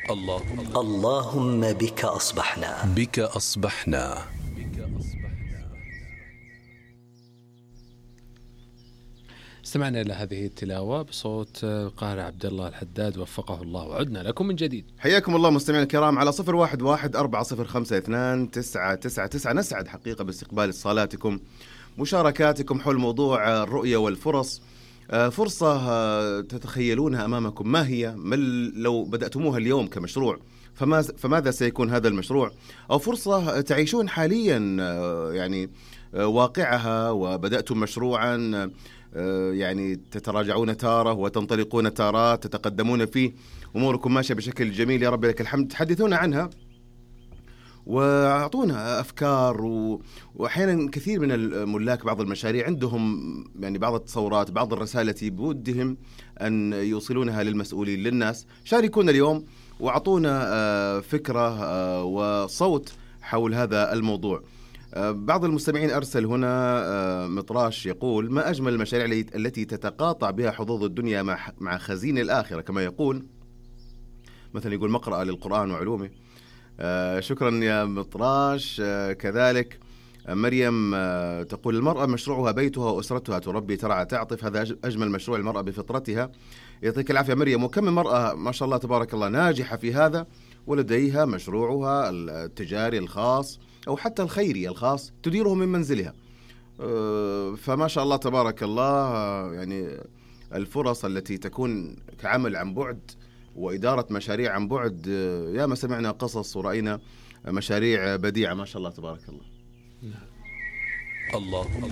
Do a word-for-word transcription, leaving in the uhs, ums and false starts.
اللهم اللهم بك أصبحنا بك أصبحنا. استمعنا إلى هذه التلاوة بصوت القارئ عبد الله الحداد وفقه الله، وعدنا لكم من جديد. حياكم الله مستمعينا الكرام على صفر واحد واحد أربعة صفر خمسة اثنان تسعة تسعة تسعة. نسعد حقيقة باستقبال اتصالاتكم، مشاركاتكم حول موضوع الرؤية والفرص. فرصة تتخيلونها أمامكم ما هي؟ ما لو بدأتموها اليوم كمشروع فماذا سيكون هذا المشروع؟ أو فرصة تعيشون حاليا يعني واقعها وبدأتم مشروعا، يعني تتراجعون تارة وتنطلقون تارات، تتقدمون فيه، أموركم ماشية بشكل جميل يا رب لك الحمد. تحدثونا عنها وأعطونا أفكار و... وأحيانا كثير من الملاك بعض المشاريع عندهم يعني بعض التصورات، بعض الرسائل التي بودهم أن يوصلونها للمسؤولين للناس. شاركونا اليوم وأعطونا فكرة وصوت حول هذا الموضوع. بعض المستمعين أرسل هنا مطراش يقول: ما أجمل المشاريع التي تتقاطع بها حظوظ الدنيا مع مع خزين الآخرة، كما يقول مثلا يقول مقرأة للقرآن وعلومه. آه شكرا يا مطراش. آه كذلك آه مريم آه تقول: المرأة مشروعها بيتها وأسرتها، تربي ترعى تعطف، هذا أجمل مشروع المرأة بفطرتها. يعطيك العافية مريم. وكم من مرأة ما شاء الله تبارك الله ناجحة في هذا ولديها مشروعها التجاري الخاص أو حتى الخيري الخاص تديره من منزلها. آه فما شاء الله تبارك الله. آه يعني الفرص التي تكون كعمل عن بعد وإدارة مشاريع عن بعد، يا ما سمعنا قصص ورأينا مشاريع بديعة ما شاء الله تبارك الله. اللهم